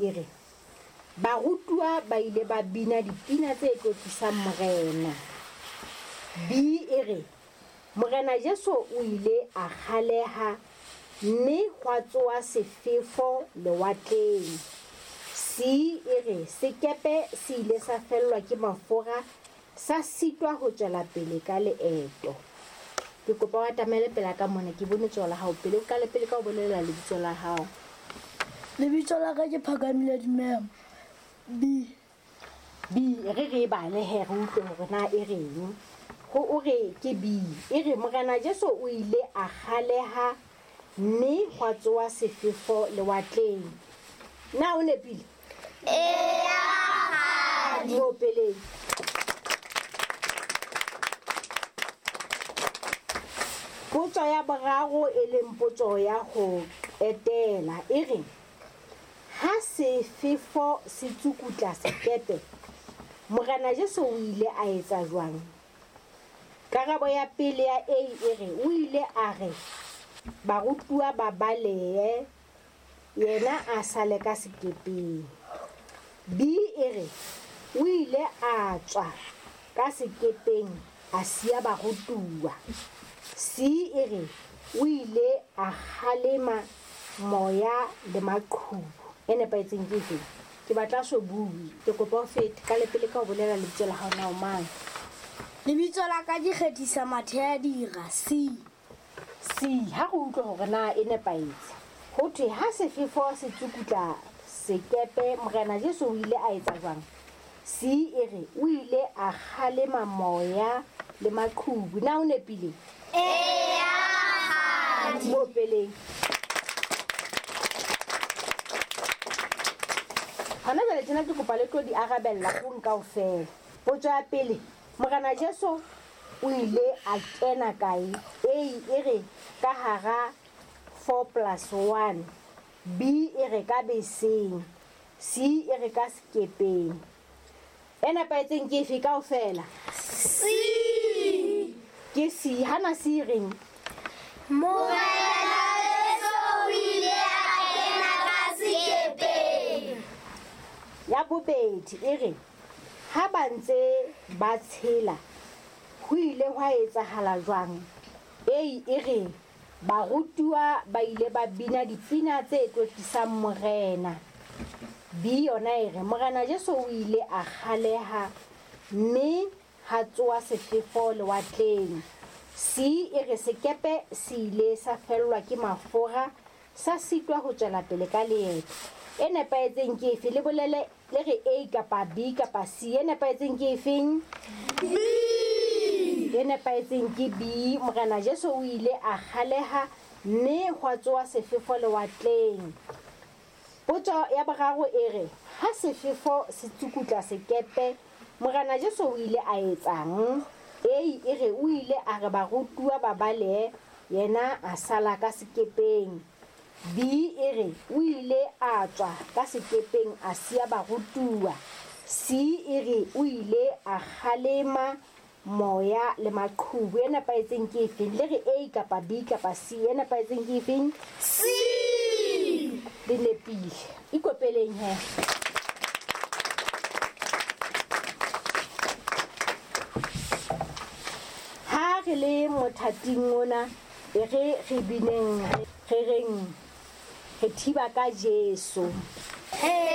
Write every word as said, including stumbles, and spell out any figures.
e re barutuwa ba ile ba bina dipina tse tlotlisang Morena. B e re Morena Jesu o ile a kgaleha mme hwa tsoha sefefo lewatleng. C e re sekepe se ile sa fellwa ke mafura sa sitwa ho tswela pele ka leeto. Ke kopa o atamele pela ka mona, ke bone letsoho la hao pele. O qale pele ka ho bolela lebitso la hao. Lebitso la ka ke Phakamile Dumela. B. B re re bale he re utlwe hore na e reng. Ho o re ke B e re Morena Jesu o ile a kgaleha mme hwa tsoha sefefo lewatleng. Na o nepile? Eya, rakgadi. Mo peleng. Potso ya boraro e leng potso ya ho qetela e re ha sefefo se tsukutla sekepe, Morena Jesu o ile a etsa jwang? Karabo ya pele ya A e re o ile a re barutuwa ba balehe, yena a sale ka sekepeng. B e re o ile a tswa ka sekepeng a siya barutuwa. C e re o ile a kgalema moya le maqhubu. E nepahetseng ke efe? Ke batla so bue, ke kopa o fete ka le pele ka ho bolela lebitso la hao na o mang. Lebitso la ka ke Kgethisa Mathea Dira. C. C ha re utlwe hore na e nepahetse. Ho thwe ha sefefo se tsukutla sekepe, Morena Jesu o ile a etsa jwang? C e re o ile a kgalema moya le maqhubu. Na o nepile? Eya, rakgadi. Mo peleng. Hona jwale tjena ke kopa le tlo di arabella hong kaofela. Potso ya pele, Morena Jesu o ile a kena kae? A e re ka hara four plus one, B e re ka beseng, C e re ka sekepeng. E nepahetseng ke efe kaofela? C. Ke C. Hana C reng? Morena Jesu o ile a kena ka sekepeng. Ya bobedi e re ha ba ntse ba tshela ho ile hwa etsahala jwang? A e re barutuwa ba ile ba bina dipina tse tlotlisang Morena. B yona e re Morena Jesu o ile a kgaleha mme ha tsoha sefefo lewatleng. C e re sekepe se ile sa fellwa ke mafura sa sitwa ho tswela pele ka leeto. E nepahetseng ke efe? Le bolele le re A kapa B kapa C. E nepahetseng ke efeng? B. E nepahetseng ke B. Morena Jesu o ile a kgaleha mme hwa tsoha sefefo lewatleng. Potso ya boraro e re ha sefefo se tsukutla sekepe, Morena Jesu o ile a etsang? A e re o ile a re barutuwa ba balehe, yena a sala ka sekepeng. B e re o ile a tswa ka sekepeng a siya barutuwa. C e re o ile a kgalema moya le maqhubu. E nepahetseng ke efeng? Le re A kapa B kapa C. E nepahetseng ke efeng? C. Le nepile. Ikopeleng he. Ha re le mothating ona, e re re bineng, re reng re thiba ka Jesu.